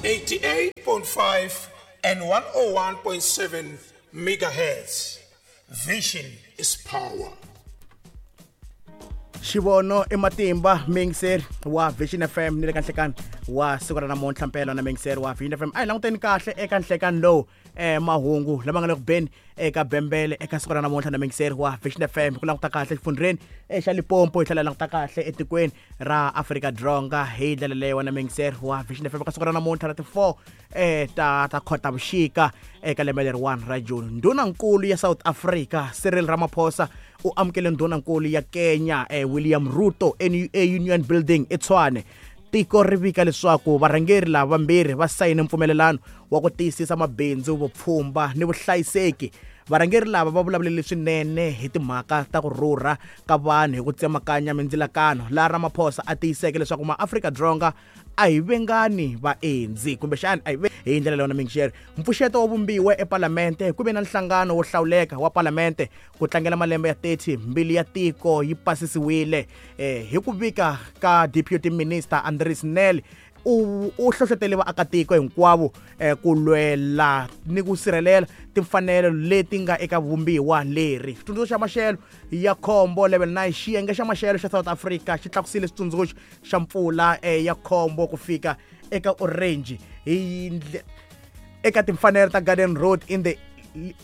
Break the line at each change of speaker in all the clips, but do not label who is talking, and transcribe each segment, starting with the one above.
88.5 and 101.7 megahertz. Vision is power.
Xivono i matimba, muyingiseri wa Vision FM, ni le ka nhlekani wa siku ra namuntlha. Mpela na muyingiseri wa Vision FM, a hi languteni kahle eka nhlekani lowu mahungu lama nga le ku beni eka bembele eka siku ra namuntlha. Na muyingiseri wa Vision FM, ku languta kahle exifundzheni xa Limpopo, hi tlhela hi languta kahle etikweni ra Afrika Dzonga hi ndlela leyo. Na muyingiseri wa Vision FM, eka siku ra namuntlha ra ti-4 ta Khotavuxika eka lembe leriwani ra June, ndhunankulu ya South Africa Cyril Ramaphosa u amukele ndhunankulu ya Kenya William Ruto e Union Building eTshwane. Tiko ri vika leswaku varhangeri lava vambirhi va sayine mpfumelelano wa ku tiyisisa mabindzu, vupfhumba ni vuhlayiseki. Varhangeri lava va vulavulele swinene hi timhaka ta ku rhurha ka vanhu hi ku tsemakanya mindzilakano, laha Ramaphosa a tiyiseke leswaku maAfrika-Dzonga a hi vengani vaendzi, kumbexani a hi hi ndlela leyo. Na mingixeri, mpfuxeto wo vumbiwe epalamente ku ve na nhlangano wo hlawuleka wa palamente ku tlangela malembe ya 30 mbili ya tiko yi pasisiwile. Hi ku vika ka Deputy Minister Andries Nel, u hlohlotele vaakatiko hinkwavo ku lwela ni ku sirhelela timfanelo leti nga eka vumbiwa leri. Xitsundzuxo xa maxelo ya khombo level 9, xiyenge xa maxelo xa South Africa xi tlakusile xitsundzuxo xa mpfula ya khombo ku fika eka orange hi eka timfanelo ta Garden Road in the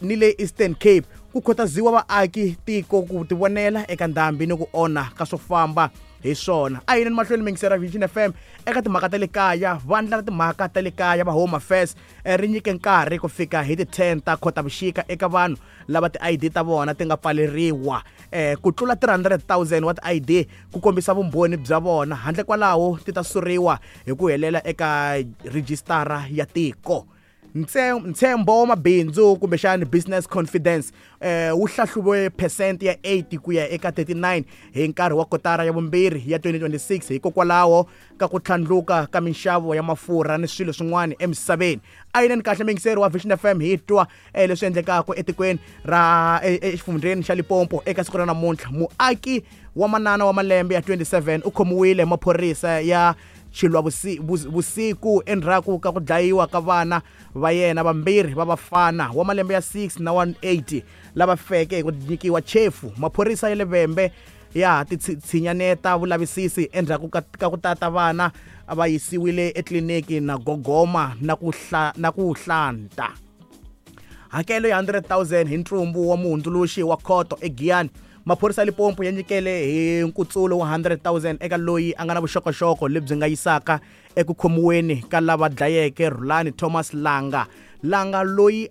ni le Eastern Cape. Ku khutaziwa vaaki tiko ku tivonela eka ndhambi ni ku onha ka swo famba hi swona. A yini mahlweni, mingisera Vision FM. Eka timhaka ta le kaya, vandla ra timhaka ta le kaya va Home Affairs ri nyike nkarhi ku fika hi ti-10 ta Khotavuxika eka vanhu lava ti-ID ta vona ti nga pfaleriwa ku tlula 300 000 wa ti-ID ku kombisa vumbhoni bya vona. Handle kwalaho, ti ta suriwa hi ku helela eka rhijisitara ya tiko. Ntshembo wa mabindzu, kumbexani business confidence, wu hlahluve percent ya 8 ku ya eka 39 hi nkarhi wa kotara ya vumbirhi ya 2026, hikokwalaho ka ku tlhandluka ka minxavo ya mafurha ni swilo swin'wana emisaveni. A yineni kahle, muyingiseri wa Vision FM, hi twa leswi endlekaka etikweni ra exifundzheni xa Limpopo eka siku ra namuntlha. Muaki wa manana wa malembe ya 27 u khomiwile hi maphorisa ya xilwa vusiku endzhaku ka ku dlayiwa ka vana va yena vambirhi va vafana wa malembe ya 6 na 180 lava feke hi ku nyikiwa chefu. Maphorisa ya le Vhembe ya ha titshinyaneta vulavisisi endzhaku ka ku tata vana va yisiwile etliliniki na gogoma na ku hlanta. Hakelo ya 100 000 hi ntsumbu wa muhundzuluxi wa khoto eGiyani. Maphorisa ya Limpopo ya nyikele hi nkutsulo wa 100 000 eka loyi a nga na vuxokoxoko lebyi nga yisaka eku khomiweni ka lava dlayeke Rhulani Thomas Langa. Langa loyi